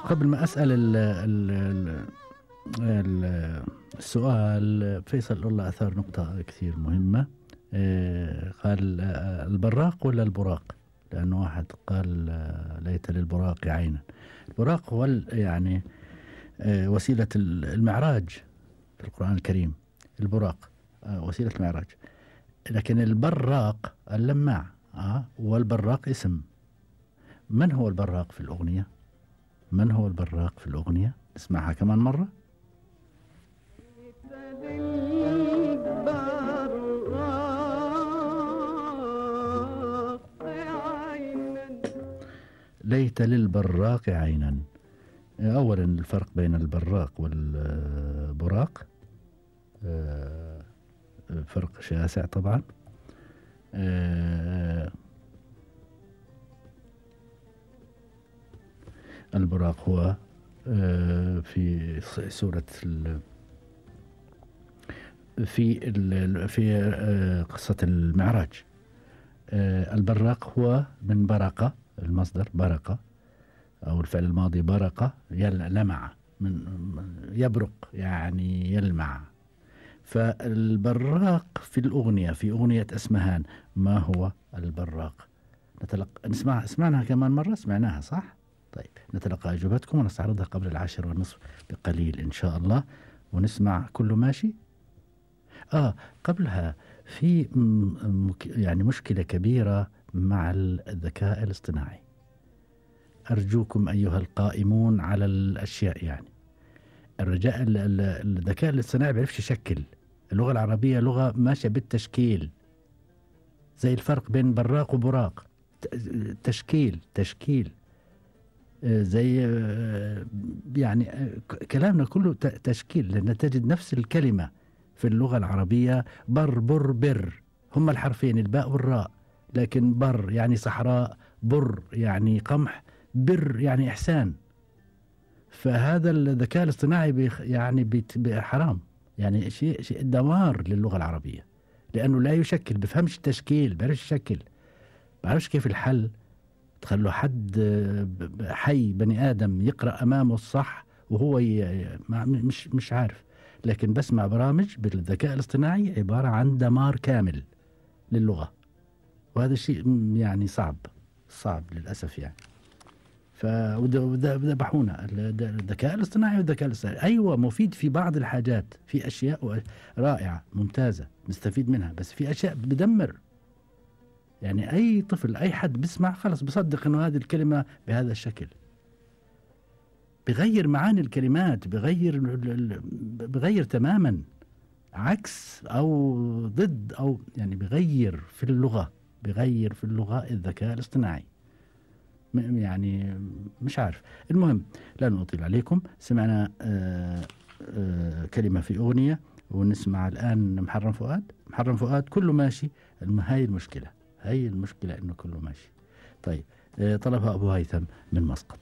قبل ما أسأل السؤال، فيصل الله أثار نقطة كثير مهمة. قال البراق ولا البراق؟ لأنه واحد قال ليت للبراق عينا. البراق هو يعني وسيلة المعراج في القرآن الكريم. البراق وسيلة المعراج. لكن البراق اللماع، والبراق اسم. من هو البراق في الأغنية؟ من هو البراق في الأغنية؟ نسمعها كمان مرة. ليت للبراق عينا. أولا الفرق بين البراق والبراق فرق شاسع طبعا. البراق هو في سورة في قصة المعراج. البراق هو من برقة، المصدر برقة أو الفعل الماضي برقة، لمع، من يبرق يعني يلمع. فالبراق في الأغنية، في أغنية أسمهان، ما هو البراق؟ سمعناها كمان مرة، سمعناها صح؟ طيب نتلقى أجوبتكم ونستعرضها قبل 10:30 بقليل إن شاء الله، ونسمع كله ماشي. قبلها في يعني مشكلة كبيرة مع الذكاء الاصطناعي. أرجوكم أيها القائمون على الأشياء، يعني الذكاء الاصطناعي بيعرفش يشكل. اللغة العربية لغة ماشية بالتشكيل، زي الفرق بين براق وبراق، تشكيل زي يعني كلامنا كله تشكيل، لأن تجد نفس الكلمة في اللغة العربية بر بر بر، هم الحرفين الباء والراء، لكن بر يعني صحراء، بر يعني قمح، بر يعني إحسان. فهذا الذكاء الاصطناعي يعني حرام، يعني شيء دمار للغة العربية، لأنه لا يشكل، بفهمش التشكيل، بعرفش يشكل، بعرفش كيف الحل. تخلوا حد حي بني آدم يقرأ أمامه الصح وهو مش عارف. لكن بسمع برامج بالذكاء الاصطناعي عبارة عن دمار كامل للغة، وهذا الشيء يعني صعب للأسف يعني. وذبحونا الذكاء الاصطناعي. أيوة مفيد في بعض الحاجات، في أشياء رائعة ممتازة نستفيد منها، بس في أشياء بدمر. يعني أي طفل، أي حد بسمع خلص بصدق إنه هذه الكلمة بهذا الشكل، بغير معاني الكلمات، بغير تماما، عكس أو ضد، أو يعني بغير في اللغة الذكاء الاصطناعي. يعني مش عارف. المهم لا نطيل عليكم. سمعنا كلمة في أغنية، ونسمع الآن محرم فؤاد كله ماشي. هاي المشكلة إنه كله ماشي. طيب طلبها أبو هيثم من مسقط.